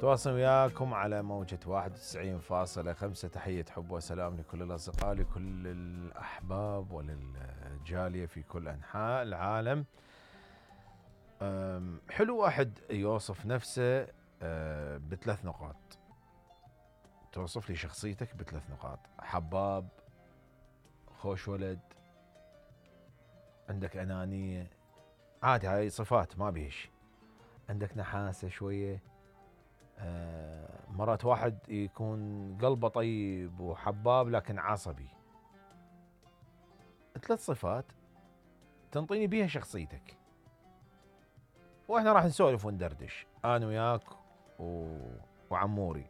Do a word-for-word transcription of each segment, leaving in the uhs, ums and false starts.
تواصل وياكم على موجة واحد وتسعين فاصلة خمسة. تحية حب وسلام لكل الأصدقاء، لكل الأحباب وللجالية في كل أنحاء العالم. حلو واحد يوصف نفسه بثلاث نقاط. توصف لي شخصيتك بثلاث نقاط: حباب، خوش ولد، عندك أنانية. عادي، هاي صفات ما بيها شيء. عندك نحاسة شوية. آه مرات واحد يكون قلبه طيب وحباب لكن عصبي. ثلاث صفات تنطيني بيها شخصيتك، واحنا راح نسولف وندردش انا وياك و... وعموري.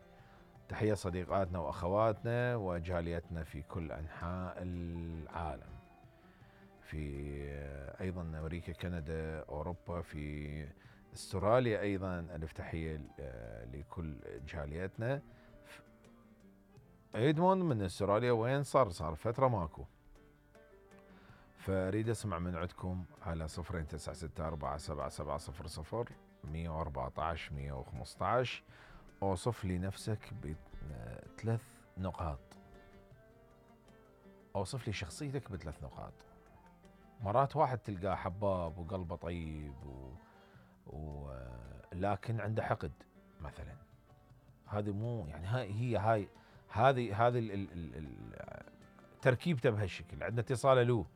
تحية صديقاتنا واخواتنا وجاليتنا في كل انحاء العالم، في ايضا امريكا، كندا، اوروبا، في استراليا ايضا. الف تحيه لكل جاليتنا. ايدموند من استراليا وين صار؟ صار فتره ماكو. فاريد اسمع من عندكم على صفرين تسعة ستة أربعة سبعة سبعة صفر صفر مية وأربعة عشر مية وخمسة عشر. اوصف لي نفسك بثلاث نقاط. اوصف لي شخصيتك بثلاث نقاط. مرات واحد تلقاه حباب وقلبه طيب و... و... لكن عنده حقد مثلا. هذه مو يعني هاي هي هاي هذه هذه ال... ال... ال... تركيبته بهالشكل. عندنا اتصال. الو.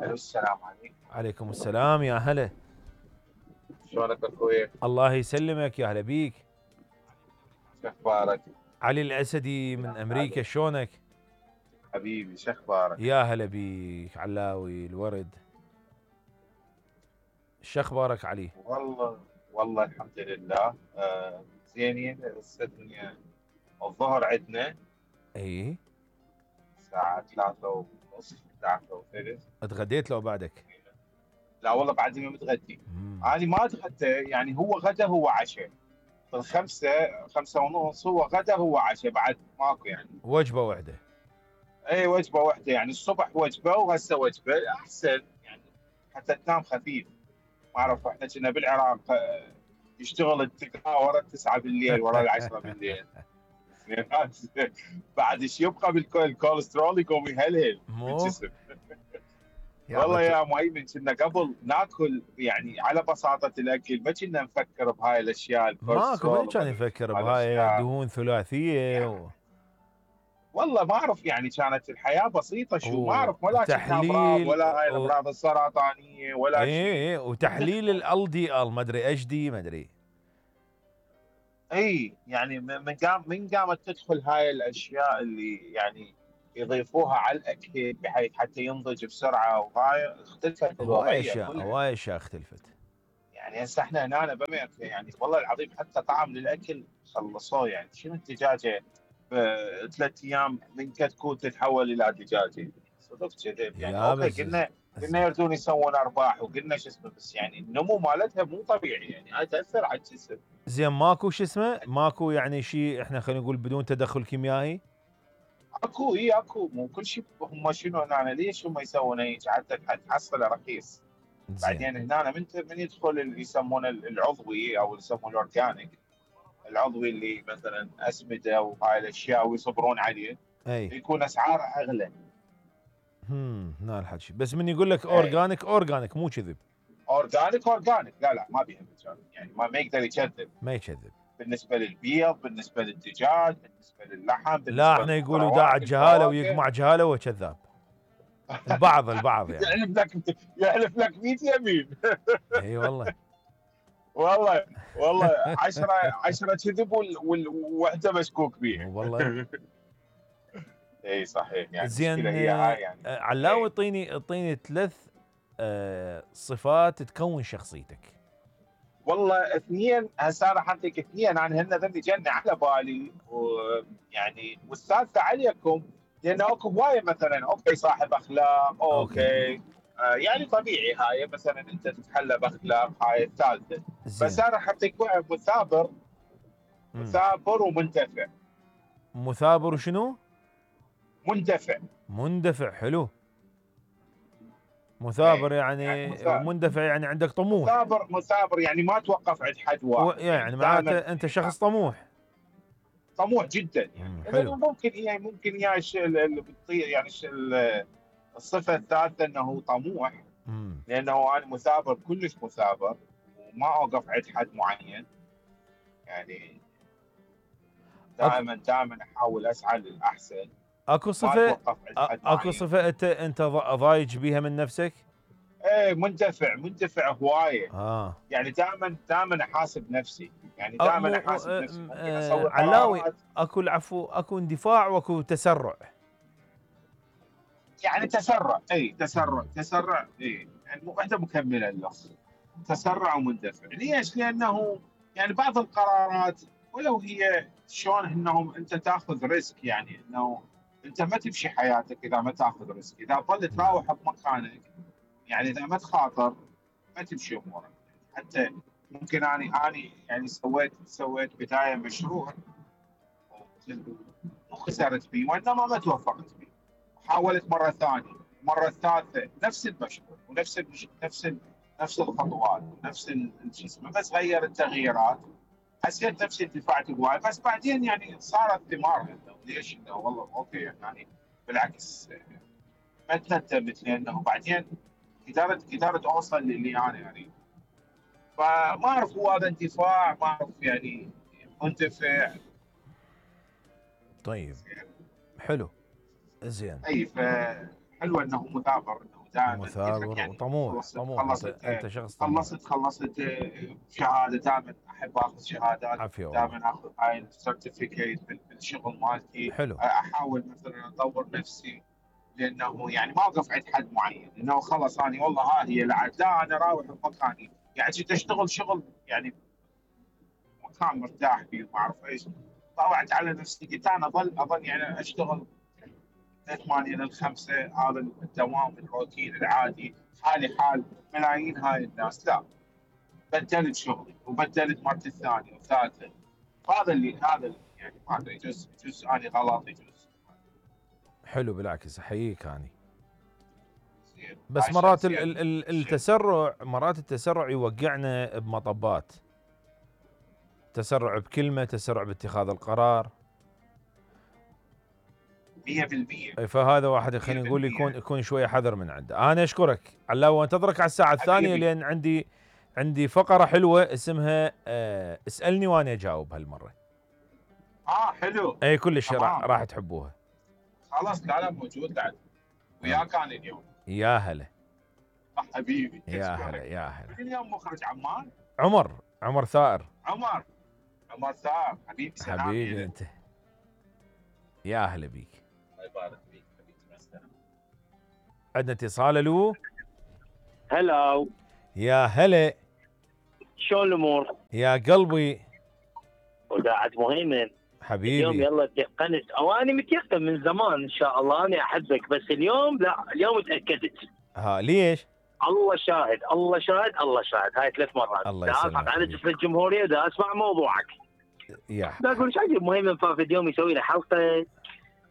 الو، السلام عليكم. عليكم السلام، يا هلا. شلونك اخوي؟ الله يسلمك، يا هلا بيك. شو اخبارك؟ علي الاسدي من امريكا، شلونك؟ حبيبي شو اخبارك؟ يا هلا بيك علاوي الورد. شو اخبارك علي؟ والله والله الحمد لله. آه زينين. هسه الدنيا الظهر عندنا اي الساعة ثلاثة ونص ثلاثة وثلث. اتغديت لو بعدك؟ لا والله بعدني ما متغدي. انا ما اتغدى، يعني هو غدا هو عشاء. الخمسة خمسة ونص هو غدا هو عشاء، بعد ماكو يعني. وجبة واحدة. اي وجبة واحدة، يعني الصبح وجبة وهسه وجبة احسن يعني، حتى تنام خفيف. ما اعرف، احنا كنا بالعراق يشتغل التقاء ورا التسعة بالليل ورا العشرة بالليل. بعد ايش يبقى بالكوليسترول يقوم يهلهل بالجسم. والله يا مهيمن كنا قبل ناكل يعني على بساطة الاكل، ما كنا نفكر بهاي الاشياء. ماكو من كان يفكر بهاي دهون ثلاثية يعني. و... والله ما اعرف، يعني كانت الحياه بسيطه شو، ما اعرف، ولا كنا امراض تحليل ولا هاي و... الامراض السرطانيه ولا ايه شيء. ايه وتحليل ال دي ال ما ادري ايش دي ما ادري. اي يعني من قام من قامت تدخل هاي الاشياء اللي يعني يضيفوها على الاكل بحيث حتى ينضج بسرعه، وهاي اختلفت هواي الوضعيه اشياء كلها. هواي اشياء اختلفت. يعني هسه احنا هنا بامريكا يعني والله العظيم حتى طعم للاكل خلصوه. يعني شنو الدجاجه بثلاث ايام من كتكوت تتحول الى دجاجه؟ صدق كذب يعني. يا اوكي بس قلنا قلنا يردون يسوون ارباح وقلنا شو اسمه، بس يعني النمو مالتها مو طبيعي، يعني هاي تاثر على الجسم. زين ماكو شو اسمه، ماكو يعني شيء احنا خلينا نقول بدون تدخل كيميائي. اكو اي اكو، مو كل شيء هم شنو هنا ليش هم يسوون هيك حتى تحصله رخيص. بعدين هنا من من يدخل اللي يسمونه العضوي او يسمونه الاورجانيك، العضوي اللي مثلا اسمده وهاي الاشياء ويصبرون عليه، اي يكون اسعاره اغلى. امم هنا الحكي، بس من يقول لك اورجانيك اورجانيك مو كذب. اورجانيك اورجانيك لا لا ما بيها مجال، يعني ما, ما يقدر يكذب. ما يكذب بالنسبه للبيض، بالنسبه للدجاج، بالنسبه للحم، بالنسبه لا احنا يقولوا داع الجهاله ويقمع جهاله وكذاب. البعض البعض يعني يحلف لك يحلف لك مية يمين. اي والله والله والله عشرة عشرة كذب والوحده مشكوك بيها. والله. اي صحيح. يعني زين هي هاي يعني. علاوي اعطيني اعطيني ثلاث آه صفات تكون شخصيتك. والله اثنين هسه انا حاعطيك اثنين، انا هن ذني جنة على بالي، ويعني والثالثه عليكم، لان اكو هوايه مثلا اوكي صاحب اخلاق اوكي, أوكي. آه يعني طبيعي هاي مثلا انت تتحلى باخلاق، هاي الثالثه. بس انا حاعطيك واحد مثابر. مثابر ومندفع. مثابر وشنو؟ مندفع. مندفع حلو. مثابر اي يعني, يعني مثابر ومندفع يعني عندك طموح. مثابر مثابر يعني ما توقف عند حد واحد، يعني معناته دائما انت شخص طموح. طموح جدا يعني. مم، اذا حلو. ممكن هي ممكن هي الشيء اللي بتطير يعني ال- الصفه الثالثه انه طموح، مم. لانه انا مثابر كلش مثابر وما اوقف عند حد معين يعني. اكو دائما دائما احاول اسعى للاحسن، اكو ما صفة اتوقف عند أ- حد اكو معين. صفة انت انت ض- ضايج بيها من نفسك؟ ايه مندفع مندفع هوايه اه. يعني. دائما دائما احاسب نفسي يعني. أ- دائما مو احاسب آه، نفسي. ممكن آه، اسوي علاوي، قرارات اكو العفو، اكو اندفاع واكو تسرع. يعني تسرع. اي تسرع مم. تسرع اي يعني واحده مكمله اللفظ. تسرع ومندفع. ليش؟ لانه يعني بعض القرارات ولو هي شلون انهم انت تاخذ ريسك، يعني انه انت ما تمشي حياتك اذا ما تاخذ ريسك. اذا ظل نعم. تراوح بمكانك يعني اذا ما تخاطر ما تمشي امورك. حتى ممكن اني اني يعني سويت سويت بدايه مشروع وخسرت فيه وانما ما توفقت فيه. حاولت مره ثانيه، المره الثالثه نفس المشروع ونفس المش... نفس ال... نفس الخطوات ونفس ال- شو اسمه، بس غير التغييرات. حسيت نفسي انتفعت هواي، بس بعدين يعني صارت ثمار انه ليش انه والله اوكي يعني بالعكس ما تندمت، لانه بعدين قدرت قدرت اوصل للي انا يعني. فما اعرف هو هذا انتفاع، ما اعرف يعني منتفع. طيب حلو. زين. اي فحلوه انه مثابر، انه دائما مثابر يعني وطموح. خلصت طموح انت خلصت انت شخص طموح. خلصت خلصت شهاده. دائما احب اخذ شهادات، عافية والله. دائما اخذ هاي السيرتيفيكيت بالشغل مالتي. حلو. احاول مثلا اطور نفسي، لانه يعني ما اوقف عند حد معين انه خلص انا والله ها هي لعد. لا انا راوح بمكاني يعني. كنت اشتغل شغل يعني مكان مرتاح فيه وما اعرف ايش. طلعت على نفسي قلت انا اظل اظل يعني اشتغل من ثمانية للخمسة، هذا الدوام الروتين العادي حالي حال ملايين هاي الناس. لا، بدلت شغلي وبدلت مرتي الثانية والثالثة. هذا اللي هذا اللي يعني ما ادري، يجوز يجوز اني غلط يجوز. حلو بالعكس احييك اني. زين بس هاي مرات ال شخصيا ال ال شيء. التسرع، مرات التسرع يوقعنا بمطبات. تسرع بكلمة، تسرع باتخاذ القرار. مية بالمية أي فهذا واحد خلينا نقول يكون مية بالمية يكون شويه حذر من عنده. انا اشكرك علاوي وانتظرك على الساعه الثانيه، حبيبي. لان عندي عندي فقره حلوه اسمها آه اسالني وانا اجاوب هالمره. اه حلو. اي كلش راح تمام راح تحبوها. خلاص. لا لا موجود بعد يلا. وياك انا اليوم. يا هلا. آه حبيبي يا هلا اشكرك. يا هلا. من اليوم مخرج عمان؟ عمر عمر ثائر. عمر. عمر ثار حبيبي سلامي حبيبي لك. انت. يا هلا بيك. الله يبارك فيك حبيبي مع السلامه. عندنا اتصال. الو. هلا. يا هلا. شلون الامور؟ يا قلبي. وداعت مهيمن. اليوم حبيبي. يلا تيقنت، او انا متيقن من زمان ان شاء الله اني احبك، بس اليوم لا، اليوم تاكدت. ها ليش؟ الله شاهد الله شاهد الله شاهد. هاي ثلاث مرات الله دا يسلمك اسمع على حبيبي. جسر الجمهوريه، دا اسمع موضوعك. يا دا اقول ايش عجب مهيمن فافد يوم يسوي له حلقه،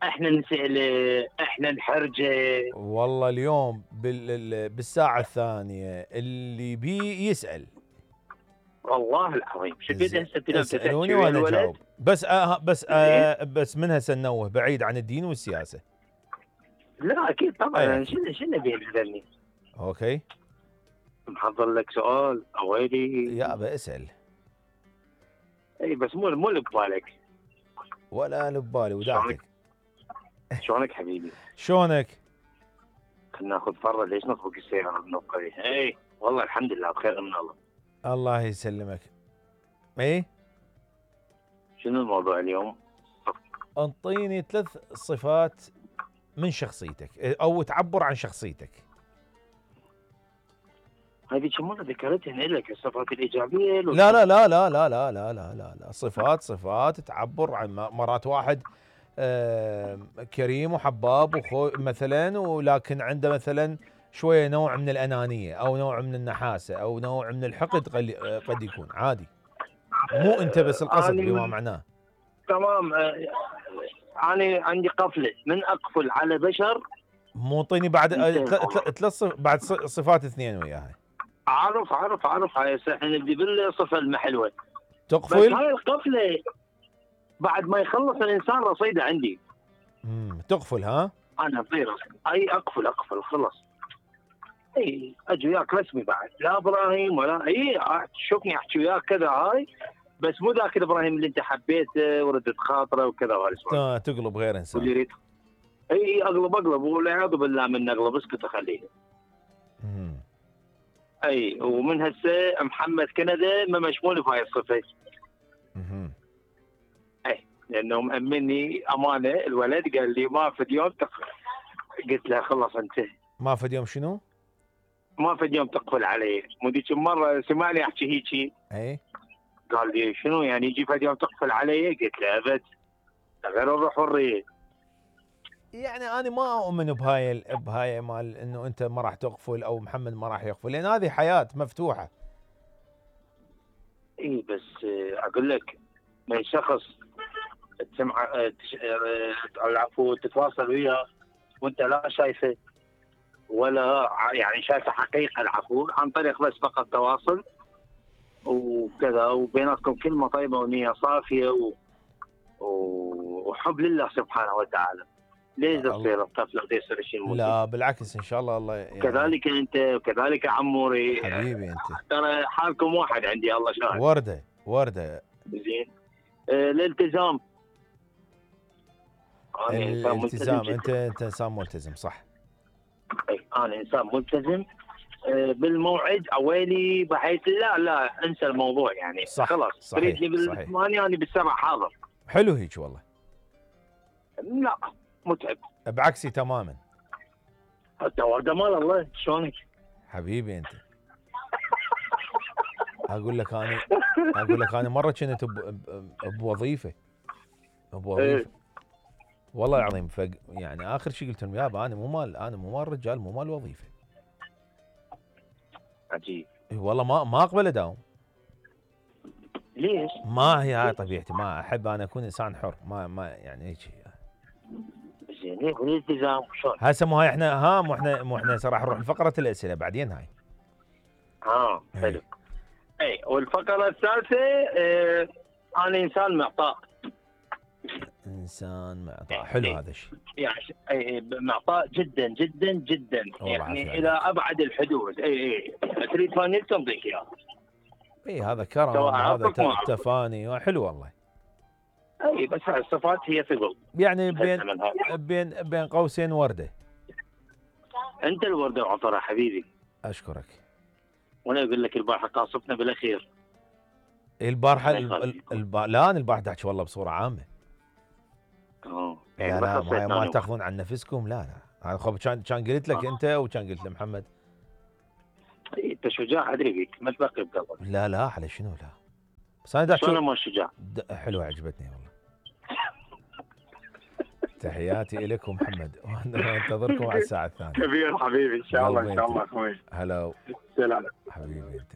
احنا نساله، احنا نحرجه. والله اليوم بال... بالساعة الثانية اللي بي يسأل. والله العظيم شفت زين. هسه اليوم اسألوني تحكي ويا وانا الولد. اجاوب. بس آه بس آه بس من هسه ننوه بعيد عن الدين والسياسة. لا اكيد طبعا. أي انا أكيد. شنو شنو ابي تسالني؟ اوكي. محضر لك سؤال اويلي. يا ابا اسأل. اي بس مو مو اللي ببالك. ولا لبالي وداعتك. شلونك حبيبي؟ شلونك؟ خلنا ناخذ فرة، ليش نطبق السيارة بنوقف؟ اي والله الحمد لله بخير من الله. الله يسلمك. ايه. شنو الموضوع اليوم؟ انطيني ثلاث صفات من شخصيتك او تعبر عن شخصيتك. هذه كم مرة ذكرتها لك الصفات الإيجابية؟ لا لا لا لا لا لا لا لا لا لا صفات صفات تعبر عن مرات واحد آه كريم وحباب وخو مثلا، ولكن عنده مثلا شويه نوع من الانانيه او نوع من النحاسه او نوع من الحقد قد قد يكون عادي. مو انت بس القصد بما معناه. تمام. أنا عندي قفلة من أقفل على بشر مو اعطيني بعد أنت- ثلاث بعد ص- صفات اثنين وياها. عارف عارف عارف هاي هسه احنا نبدي بالصفه المحلوه. بس تقفل. هاي القفله بعد ما يخلص الانسان رصيده عندي. امم تقفل ها؟ انا غير اي اقفل اقفل خلص. اي اجي وياك رسمي بعد، لا ابراهيم ولا اي شوفني احكي وياك كذا هاي، بس مو ذاك الابراهيم اللي انت حبيته وردت خاطره وكذا وهالسوالف. آه، تقلب غير انسان. واللي يريد اي اقلب اقلب والعياذ بالله من اقلب اسكت اخليه. امم اي ومن هسه محمد كندا ما مشمول بهاي الصفه. امم اي لانه مأمني امانه الولد قال لي ما في يوم تقفل. قلت له خلص انت ما في يوم شنو؟ ما في يوم تقفل علي. مو ذيك المره سمعني احكي هيجي، اي قال لي شنو يعني يجي في يوم تقفل علي؟ قلت له ابد غير الروح والريح. يعني انا ما اؤمن بهاي ال- بهاي مال انه انت ما راح تقفل او محمد ما راح يقفل، لان هذه حياه مفتوحه. اي بس آه، اقول لك من شخص تسمع آه، تش- آه، العفو تتواصل وياه وانت لا شايفه ولا ع- يعني شايفه حقيقه العفو عن طريق بس فقط تواصل وكذا وبيناتكم كلمه طيبه ونيه صافيه و... و- وحب لله سبحانه وتعالى. ليش الله. تصير الطفله بدي يصير شيء مو لا بالعكس ان شاء الله. الله يعني كذلك انت وكذلك عموري. حبيبي انت ترى حالكم واحد عندي الله شاهد. ورده ورده. زين آه، الالتزام. أنا إنسان ملتزم الالتزام. جداً. انت انت انسان ملتزم صح. أي، انا انسان ملتزم آه، بالموعد اويلي بحيث لا لا انسى الموضوع يعني صح، خلاص صحيح، تريدني صحيح. بالثمانية انا بالسبع حاضر. حلو هيك والله. لا متعب. بعكسي تماما. حتى ورده مال الله شلونك؟ حبيبي انت. اقول لك انا اقول لك انا مره كنت ب- ب- بوظيفه بوظيفه والله العظيم. فق يعني اخر شيء قلت لهم يابا انا مو مال انا مو مال رجال، مو مال وظيفه. عجيب. إي والله ما ما اقبل اداوم. ليش؟ ما هي هاي طبيعتي، ما احب انا اكون انسان حر. ما ما يعني هيك. زين ليه والالتزام شلون؟ هسه مو هاي احنا ها مو احنا مو احنا راح نروح لفقره الاسئله بعدين هاي. اه حلو. اي والفقره الثالثه آه انا انسان معطاء. انسان معطاء. حلو هذا الشيء. يعني أي معطاء جدا جدا جدا والله عافية يعني عليك. الى ابعد الحدود. اي اي تريد فانيل تنطيك اياه. اي هذا كرم، سواء هذا عرفك ما ت- عرفك. تفاني حلو والله. اي بس هاي الصفات هي ثقل. يعني بين من هاي. بين بين قوسين ورده. انت الورده وعطرها حبيبي. اشكرك. وانا اقول لك البارحه قاصفنا بالاخير. البارحه الله ال- ال- يخليك. الب... لا انا البارحه احكي والله بصوره عامه. اه لا يعني لا بس ما, حسيتنا ما أنا تاخذون عن نفسكم. لا لا انا خب كان كان قلت لك آه. انت وكان قلت لمحمد. إي، انت شجاع ادري بيك ما تبقي بقلبك. لا لا على شنو لا. بس انا دا شلون أشوف- ما شجاع؟ د- حلوه عجبتني والله. تحياتي لكم محمد وانتظركم على الساعه الثانيه. كبير حبيبي ان شاء الله ان قلبي شاء أنت. الله اخوي. هلا سلام. حبيبي انت.